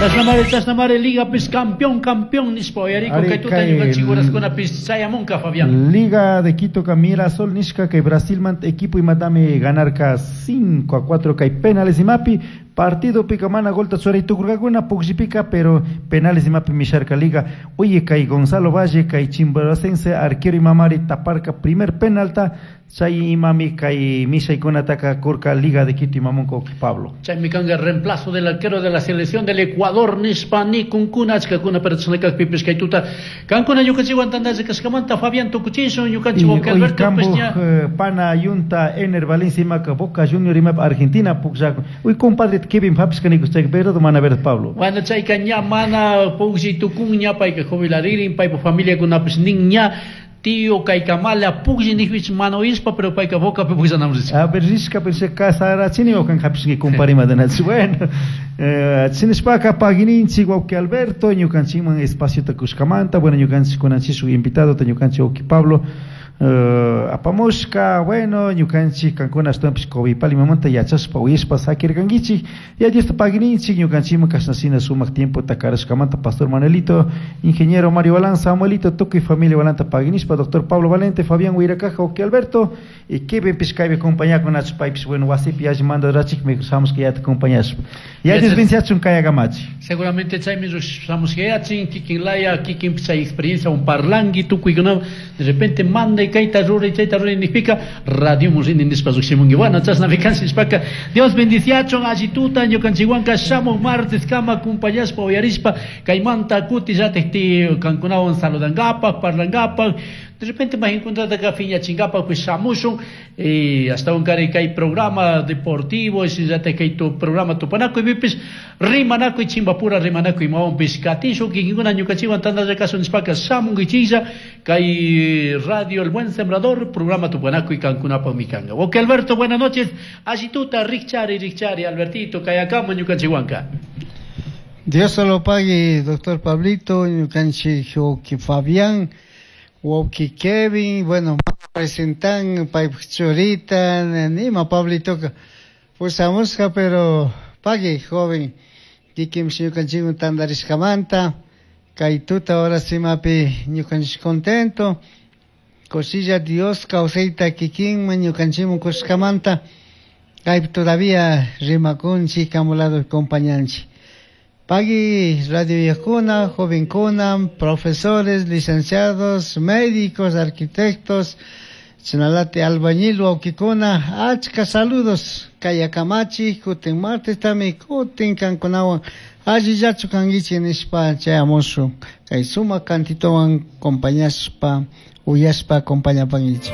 Chashnamari, chashnamari Ligapis campeón, campeón nishpa uyarikun Ari, kay tuta kay ñukanchik horaskunapis chayamunka, Fabián. Liga de Quito ka Mirasol nishka kay Brasilmanta equipo imatami ganarka 5-4 kay penales imapi partido pika mana golta churay tukurkakuna pukllipika, pero penales imapi misharka Liga. Oye, kay Gonzalo Valle kay Chimboracense arquero imamari taparka primer penalta chay imami kay mishaykunataka kurka Liga de Quito imamunka Pablo. Chaymi kanka reemplazo del arquero de la selección del Ecuador nishpa nikunkuna achkakuna pero chashnakakpipis kay tuta kankuna ñukanchikwan tandalla kashkamanta Fabián tukuchishun ñukanchik Y wawqi hoy Alberto Cambo, pues ña pana Yunta Ener Valencia imaka Boca Junior imap Argentina pukllakun. Uy, compadre Kevin hapishka nikus chayka, pero mana ver Pablo. Bueno, chayka ña mana puklli tukun ña payka jubilaririn, paypa familiakunapis nin ña tío kaykamala puklli nijpich mana uyashpa, pero payka Bocapi pukllanam rishka. A ver, rishka, pero casarachini o kan hapishki compadre madanachi. Bueno, chinishpaka pagininchik wawqi Alberto, ñukanchikman espaciota kushkamanta, bueno, ñukanchik kunanchik shuk invitado, ñukanchik wawqi Pablo, apamushka, bueno, ñukanchik kankuna ashtawanpish Covipal imamanta yachashpa uyashpa sakirkankichik. Ya Diosta pagininchik ñukanchikman kashnashina sumak tiempota karashkamanta Pastor Manuelito, Ingeniero Mario Balán, Samuelito, tukuy familia Balanta paginishpa, Doctor Pablo Valente, Fabián Huiracaja, wawqi Alberto, y Kevin pishkaypi compañakunachu paypish, bueno, wasipi alli mandarachik, me shamushka yata acompañashpa. Ya Dios Gracias. bendiga kayakamachi. Seguramente chaymi shamushkayachin, kikin laya, kikin chay experiencia un parlangi tukuykunam, de repente manda y kayta ruray, chayta ruray nijpika, radio murini nishpa llukshimunki. Bueno, chashnami kanchik nishpaka, Dios bendiciachun, allituta, ñukanchikwanka shamuj martes kama acompañashpa, uyarishpa, kaymanta kuti llatik ti kankunawan saludangapak, parlangapak, de repente más encontrada acá fiñachingapa, pues shamushun, y hasta un cari kay programa deportivo, y si ya te kay tu programa tupanaco y vipis, rimanaco y chimbapura, rimanaco y maón piscatisho, que ninguna ñucachiwan tanda de caso nishpaka, shamun y chilla, kay radio El Buen Sembrador, programa tupanaco y cancunapa mikanga. Ok, Alberto, buenas noches. Allituta, richari, richari, Albertito, kayakama, ñucachihuanca. Dios se lo pague, doctor Pablito, ñucanchi, wawqi Fabián, wawqi Kevin, bueno, presentan paypaj churita, nima Pablitoka pusamusqa, pero pague, joven, kikinpish ñukanchikwan tantarishkamanta, kay tuta ahora simapi ñukanchik contento, cosilla Dios kawsayta kikinman ñukanchikman kushkamanta, kaypi todavía rimakunchik, kamulado acompañanchik. Pagui radio viejuna, jovencuna, profesores, licenciados, médicos, arquitectos, chinalate albañil, wawqikuna, achka saludos, kayakamachi, kutin martes tami, kutin kankunawan, allillachu kankichik nishpa chayamushun, kay sumak cantitowan compañashpa, uyashpa acompañapankichik.